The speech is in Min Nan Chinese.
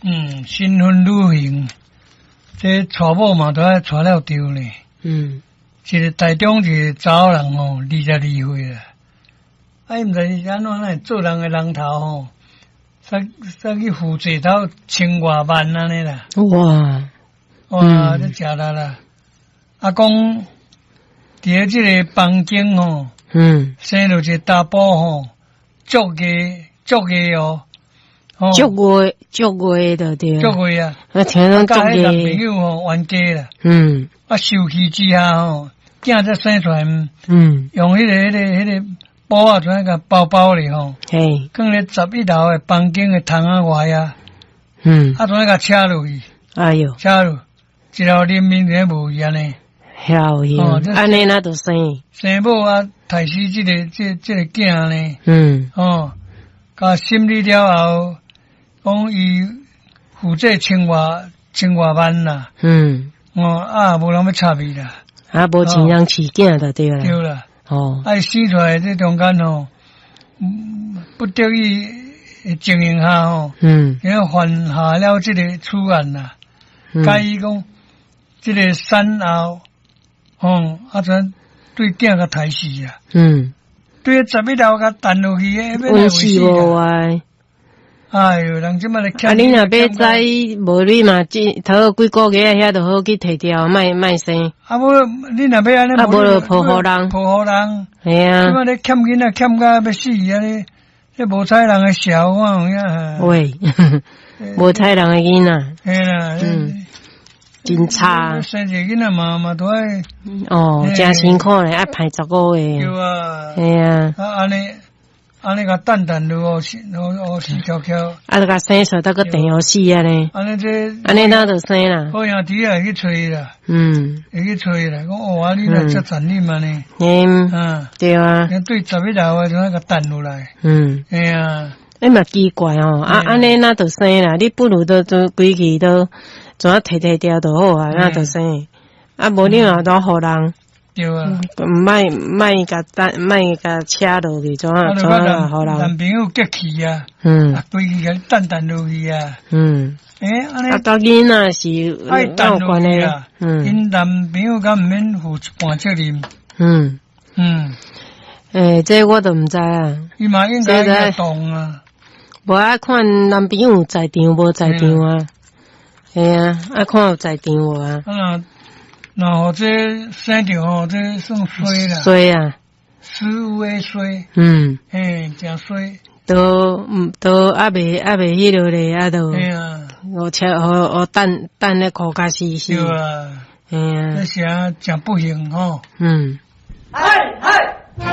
嗯，新婚旅行，這娶某嘛都愛娶了著呢。一个台中一个查某人吼，22歲啦。啊，伊毋知是按怎會做人的人頭吼，煞煞去負債頭千外萬按呢啦。哇，這誠力啦！啊，講佇咧這个房間吼，生著一个查埔吼，足硬足硬哦，足硬足硬的對。足硬啊！啊，聽講足佮彼男朋友吼冤家啦。啊，受氣之下吼，囝才生出來，用彼个布仔怎共包包咧吼，囥咧11樓的房間的窗仔外啊。啊，怎共車落去？哎喲！車落，一條人命侪無去按呢。曉去，按呢哪著生？生某啊，刣死這個囝呢？哦，共審理了後，講伊負債千外萬啦。哦，啊，無人欲插伊啦。啊，無錢人飼囝就對啦。對啦。啊，伊生出來這中間吼，不得已的情形下吼，然後犯下了這个此案啦。佮伊講，這个產後，吼，啊，怎對囝共刣死啊？對11樓共擲落去的，阮死無啊！哎喲，人這擺咧啊，你若欲知無你嘛，這頭幾個月遐就好去提掉，莫莫生。啊無，你若欲按呢，啊無就抱予人，抱予人。嘿啊。這擺咧欠囡仔欠甲欲死按呢，這無彩人的笑話有影。喂，無彩人的囡仔。嘿啦，真差。生一个囡仔嘛嘛都愛。哦，誠辛苦咧，愛排15個。對啊。嘿啊。啊，按呢。按呢共擲擲落去，哦死翹翹。啊，就共生出來，閣電予死按呢。按呢這。按呢哪就生啦。好兄弟啊，會去揣啦。會去揣啦，講哦，啊，你來遮殘忍按呢。對啊。對11樓的就共擲落來。嘿啊。欸嘛奇怪哦，啊，按呢哪就生啦？你不如都都規氣都怎啊提提掉就好啊，哪就生。啊，無你若都予人。對啊。毋莫莫共擲，莫共車落去，怎啊怎啊予人。男朋友激氣啊。規氣共擲擲落去啊。欸，按呢。啊，佮囡仔是愛擲落去啊。𪜶男朋友敢毋免負一半責任。欸，這我都毋知啊。伊嘛應該會動啊。無愛看男朋友有在場無在場啊？嘿啊，愛看有在場無啊？啊，若予這生著吼，這算衰啦。衰啊！死有的衰。嘿，誠衰。都都猶未彼落咧，啊都。嘿啊。予車予予擲擲咧苦甲死死。對啊。嘿啊。這是誠不幸吼。嗨嗨。